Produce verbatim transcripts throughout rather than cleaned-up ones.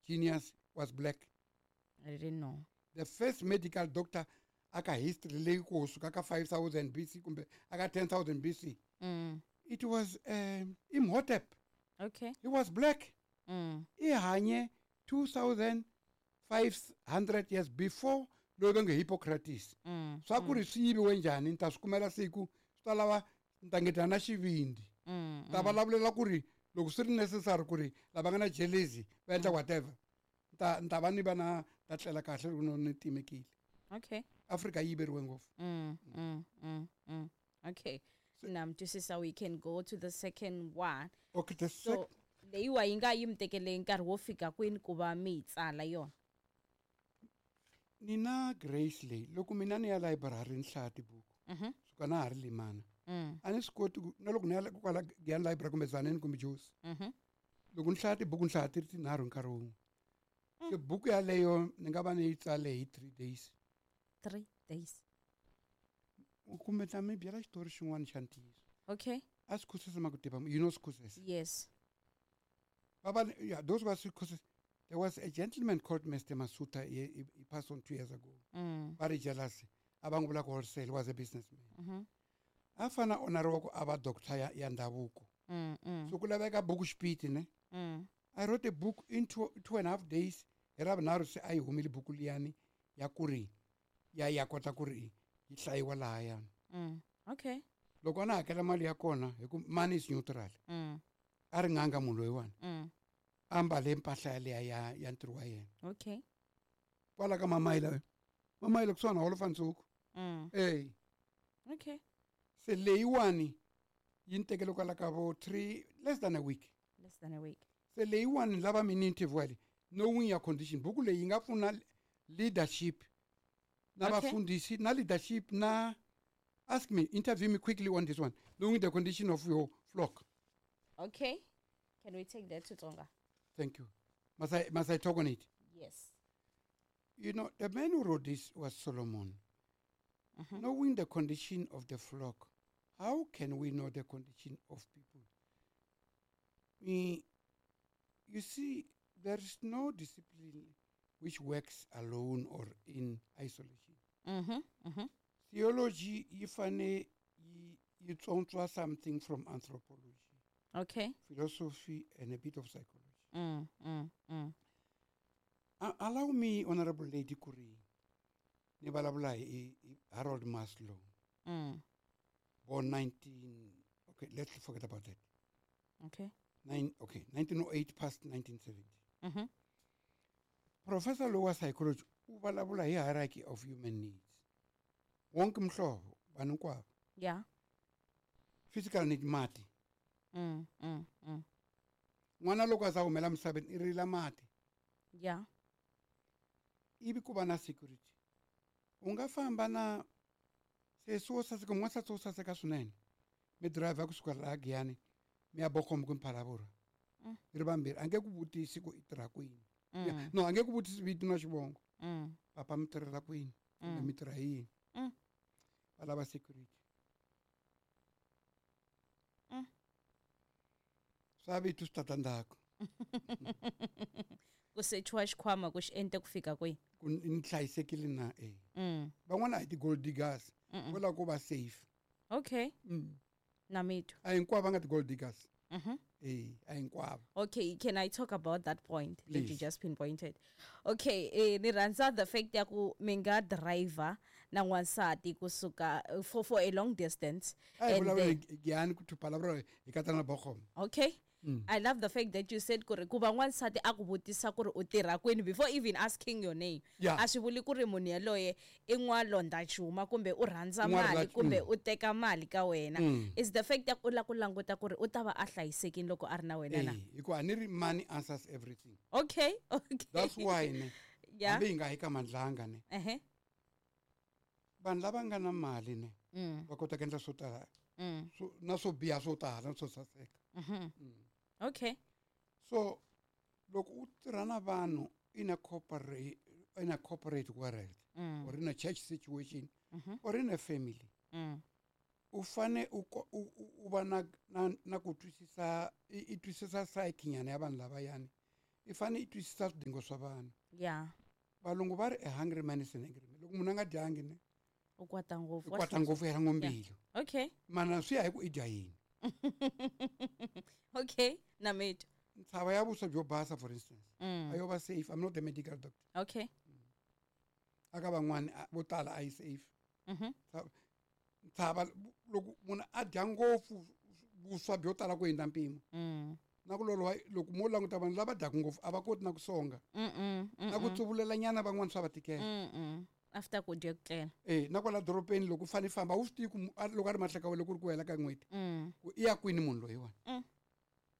genius was black. I didn't know. The first medical doctor aka history leyi kusuka ka five thousand B C kumbe aka ten thousand B C. Mm. It was um, Imhotep. Okay. He was black. Mm. I hanye two thousand five hundred years before loyi va nge Hippocrates. Mm. Swa ku ri swi yiviwe njhani ni ta swi kumela siku swi ta lava ni ta ngetela na xivindi. Mm, Ta vulavulela ku ri loko swi ri necessary ku ri lava nga na jealousy va endla whatever. Ta ni ta va ni va na ta tlela kahle loko no ni timekile. Okay. Africa yi yiveriwe ngopfu. Mm, mm, mm, mm. Okay. Now, just so we can go to the second one. Okay, the So, second. leyiwa yi nga yi mi tekele nkarhi wo fika kwini ku va mi yi tsala yona? Ni na Grace leyi loko mina ni ya library ni hlaya tibuku. Mhm. Suka na ha ri limana. Mm. A ni swi koti ku na loko ni ya kwala Giyani library kumbe Tzaneen kumbe Jozi. Mhm. Loko ni hlaya tibuku ni hlaya ti ri tinharhu nkarhi wun'we. Se buku yaleyo ni nga va ni yi tsale hi three days. Three days. Kumbe ta mi byela xitori xin'wana xa ntiyiso. Okay. A Sikhosisi Makutiva, you know Sikhosisi? Yes. Baba, yeah, those were Sikhosisi. There was a gentleman called Mister Masuta, he, he, he passed on two years ago. Mm. Very jealous. Abangubula wholesale, was a businessman. Mm-hmm. Afana onaroko aba doctor ya, ya ndabuko. Mm, mm. So kulaveka buku xipiti ne? Mm. I wrote a book in two, two and a half days. Hi ra vunharhu se a yi humile buku liyani ya ku ri ya ya kota ku ri yi hlayiwa lahaya. Mm. Okay. Loko a na hakela mali ya kona hi ku money is neutral. Mm. A ri n'anga munhu loyiwani. Mm. A mbale mpahla yaliya ya, ya ntirho wa yena. Okay. Kwala ka Mamayila. Mamayila kusuhani na Holofa Ntshuku. Mm. Hey. Okay. Se leyiwani yi ni tekele kwala ka vo three, less than a week. Less than a week. Se leyiwani lava mi ni interview yale, knowing your condition. Buku leyi yi nga pfuna leadership na Okay. vafundhisi na leadership na ask me, interview me quickly on this one. Knowing the condition of your flock. Okay. Can we take that to Tsonga? Thank you. Must I, must I talk on it? Yes. You know, the man who wrote this was Solomon. Mm-hmm. Knowing the condition of the flock, how can we know the condition of people? We, you see, there is no discipline which works alone or in isolation. Mm-hmm. Mm-hmm. Theology, if I you tsontswa something from anthropology. Okay. Philosophy and a bit of psychology. Mm, mm, mm. A-, allow me, Honorable Lady Kuri, ni vulavula hi, hi Harold Maslow. Mm. Born nineteen, okay, let's forget about that. Okay. Nine, okay, nineteen oh eight past nineteen seventy. Mm-hmm. Professor Lower Psychology, u vulavula hi hierarchy of human needs. Wonke mhlobo, vanhu hinkwavo. Yeah. Physical need mati. Mm, mm, mm. N'wana loko a za humela misaveni i rila mati. Yeah. Ivi ku va na security. U nga famba na sesi wo saseka, n'wansati wo saseka swinene. Mi driver kusuka laha Giyani, mi ya Bochum kumbe Phalaborwa. Mm. Mi ri vambirhi, a nge ku vutisi ku i tirha kwini. Mm. Yeah. No, a nge ku vutisi vito na xivongo. Mm. Papa mi tirhela kwini? Kumbe Mm. mi tirha yini? Mm. Va lava security. Mm. Swa vito swi tata ndzhaku. Ku sechiwa xikhwama ku xi ente ku fika kwihi? Ku ni hlayisekile na, eh. Mm. Van'wana a hi ti-gold diggers. Mm-mm. Vo lava ku va safe. Okay. Mm. Na mi twa. A hinkwavo va nga ti-gold diggers. Mm-hmm. Eh, a hinkwavo. Okay, can I talk about that point that you Please. just pinpointed? Okay, eh, ni rhandza the fact ya ku mi nga driver na n'wansati kusuka for, for a long distance. A hi And vulavula then hi Giyani ku Phalaborwa hi katsa na Bochum. Okay. Mm. I love the fact that you said ku ri ku va n'wansati a ku vutisa ku ri u tirha kwini before even asking your name. Yeah. A swi vuli ku ri munhu yaloye i n'walondza xuma kumbe u rhandza N'wa mali rhandza- kumbe mm. u teka mali ka wena. Mm. It's the fact that u lava ku languta ku ri u ta va a hlayisekile loko a ri na wena na. Eh, hikuva a ni ri money answers everything. Okay, okay. That's why ne. Yeah. Hambi hi nga yi ka Mandlanga ne. Uh-huh. Vanhu lava nga na mali ne, Mm. va kota ku endla swo tala. Mm. So, na swo biha swo tala, na swo saseka. Mm-hmm. Mm. Okay. So, loko u tirha na vanhu in a corporate, in a corporate world, Mm. or in a church situation, Mm-hmm. or in a family, Mm. u fane u ko-, u, u, u va na, na, na ku twisisa, i, i twisisa psyche nyana ya vanhu lavayani. I fanele i twisisa swidingo swa vanhu. Yeah. Valungu va ri a hungry man is an angry man. Loko munhu a nga dyangi ne u kwata ngopfu. U kwata ngopfu ya ngombilu. Okay. Mana swi ya hi ku i dya yini. Okay, na mate. Ntshava ya vuswa byo basa for instance. Mm. A yo va safe. I'm not a medical doctor. Okay. Aka van'wani vo tala a yi safe. Mhm. Ntshava loko munhu a dya ngopfu vuswa byo tala ku hundza mpimo. Mm. Na ku loloha loko mo languta vanhu lava dyaka ngopfu a va koti na ku songa. Mm. Na ku tsuvulela nyana van'wani swa va tikela. Mm. After ku dya ku tlela. Eh, na kwala dorobeni loko u fanele famba wu swi tivi ku loko a ri mahleka wa loko ku ri ku hela ka n'hweti. Mm. Ku i ya kwini munhu loyiwani. Mm.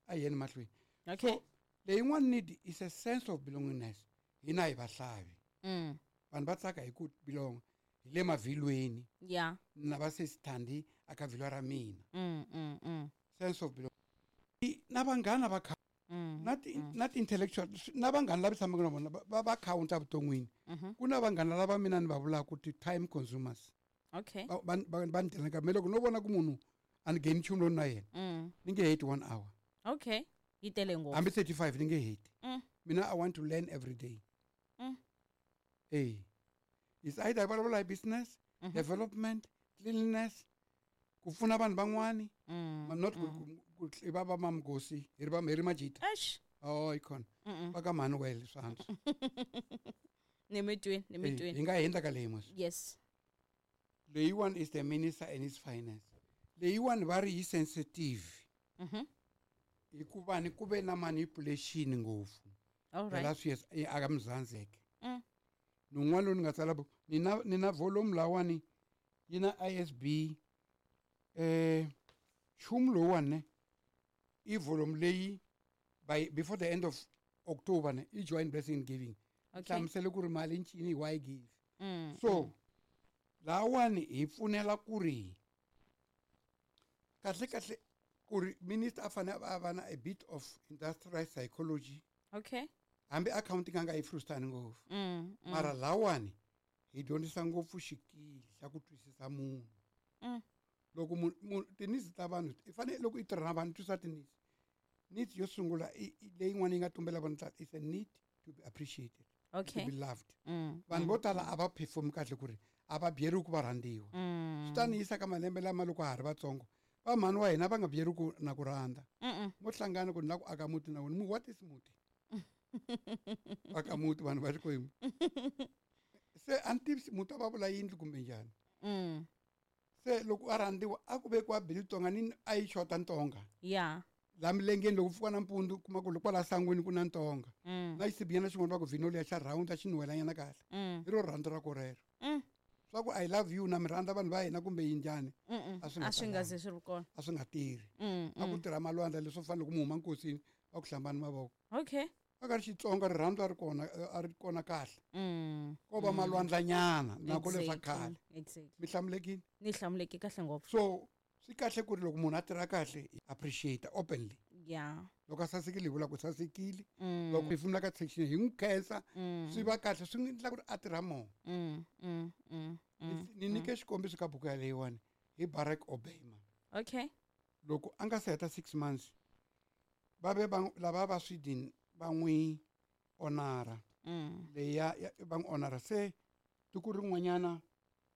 A yeni mahlweni. Okay. So leyin'wana need is a sense of belongingness. Hina hi vahlavi. Mm. Vanhu va tsaka hi ku belong hi le mavhilweni. Yeah. Na va se sithandi aka vhilwa ra mina. Mm, mm, mm. Sense of belonging. Na vanghana va kha Mm, na ti mm. na ti-intellectual na vanghana lava tshamaka na vona va va counta vuton'wini. Mhm. Ku na vanghana lava mina ni va vulaka ku ti-time consumers. Okay. Va va va ni dyela nkarhi. Me loko no vona ku munhu a ni ngheni nchumu lowu na yena Mm. ni nge heti one hour. Okay. Yi tele ngopfu. Hambi thirty-five ni nge heti. Mm. Mina I want to learn every day. Mm. Eh. It's either vulavula hi business, Mhm. development, cleanliness, ku pfuna vanhu van'wani, Mm. not ku mm. ku i va va mamgosi hi ri va hi ri majita. Eish. Oh, ikhona. Mm. Va ka Manuel swa antswa. Ni mi twini, ni mi Eh, twini. hi nga hundza ka leyi mos. Yes. Leyiwani is the minister and his finance. Leyiwani va ri yi sensitive. Mhm. Hikuva ni ku ve na manipulation ngopfu. All The right. last years aka Mzansi. Mm. Nun'wana loyi ni nga tsala buku ni na ni na volume lawani yi na I S B eh nchumu lowuwani ne i volume leyi by before the end of October ne i join Blessing in Giving. Okay. Hlamusele ku ri mali ncini why give. Mm. So lawani hi pfunela ku ri kahle kahle ku ri minister a fanele a va na a bit of industrial psychology. Okay. Hambi accounting a nga yi frustani ngopfu. Mm, mm. Mara lawani hi dyondzisa ngopfu xikili xa ku twisisa munhu. Mm. Loko munhu munhu ti-needs ta vanhu i fanele loko i tirha na vanhu twisisa ti-needs. Needs yo sungula i leyin'wana yi nga tumbela vanhu tala is a need to be appreciated. Okay. To be loved. Mm. Vanhu vo tala a va perform kahle ku ri a va byeriwi ku va rhandziwa. Mm. Swi ta ni yisa ka malembe lama loko ha ha ri vatsongo va mhani wa hina va nga byeriwi ku na ku rhandza. Mm. Mo hlangana ku ni lava ku aka muti na wena mu what is muti? Aka muti vanhu va Xikwembu. Se a ni tivi muti a va vula yindlu kumbe njhani. Mm. Se loko a rhandziwa a ku vekiwa bili tonga ni a yi xota ntonga. Yeah. La milengeni loko pfuka nampundzu kuma ku kwala sangwini ku na ntonga. Mm. Na xisibiyana xin'wana va ku vhino liya xa round a xi nuhelanyana kahle. Mm. Hi ro rhandzu ra ko rero. Mm. Swa ku I love you na mi rhandza vanhu va hina kumbe yi njhani. Mm. A swi nga A swi nga talanga. ze swi ri kona. A swi nga tirhi. Mm. A ku tirha malwandla leswo fana loko mi huma nkosini va ku hlambani mavoko. Okay. A ka ri Xitsonga rirhandzu a ri kona a ri kona kahle. Mm. Ko va malwandlanyana na ku leswa Exactly. khale. Exactly. Mi hlamulekile? Ni hlamuleke kahle ngopfu. So swi kahle ku ri loko munhu a tirha kahle appreciate openly. Yeah. Loko a sasekile hi vula ku sasekile. Mm. Loko hi pfumela ka section hi n'wi khensa Mm. swi va kahle swi n'wi endla ku ri a tirha more. Mm. Mm. Mm. Mm. Ni nyike xikombiso ka buku yaleyiwani hi Barack Obama. Okay. Loko a nga se heta six months va ve va lava va Sweden va n'wi honora. Mm. Leya va n'wi honora se tiko rin'wanyana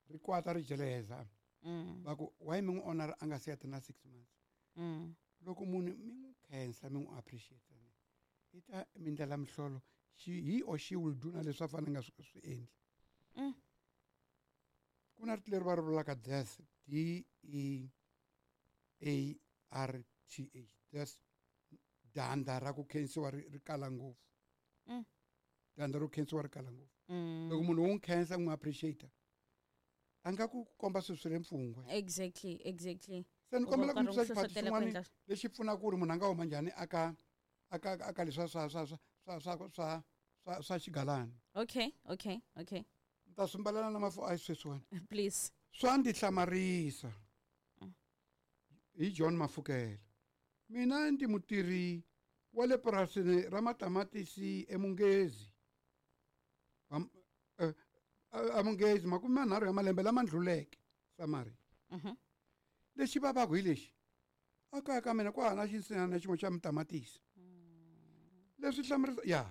ri kwata ri jeleza. Mm. Va ku why mi n'wi honora a nga se heta na six months. Mm. Loko munhu mi n'wi khensa mi n'wi appreciate i ta mi ndlela mihlolo she he or she will do na leswi a fanele nga swi swi endli. Mm. Ku na rito leri va ri vulaka death D E A R T H death danda ra ku khensiwa ri ri kala ngopfu. Mm. Danda ro khensiwa ri kala ngopfu. Mm. Loko munhu wo n'wi khensa n'wi appreciate a nga ku komba swilo swi le mpfungwe. Exactly, exactly. Se ni kombela ku U mi va twisa karhi u xiphati hlohlotela ku xin'wana endla lexi pfunaka ku ri munhu a nga huma njhani aka aka aka leswa swa swa swa swa swa swa swa swa xigalana. Okay, okay, okay. Ni ta swi mbalela na mafu a sweswiwani. Please. Swa ndzi hlamarisa. Mm. Hi John Mafukela. Mina ndi mutirhi wa le purasini ra matamatisi eMungezi. Am, eh, eMungezi makume manharhu ya malembe lama ndluleke Samari. Mhm. Lexi vavaka hi lexi a kaya ka mina ku hava na xinsin'wana na xin'we xa matamatisi. Leswi hlamarisa ya.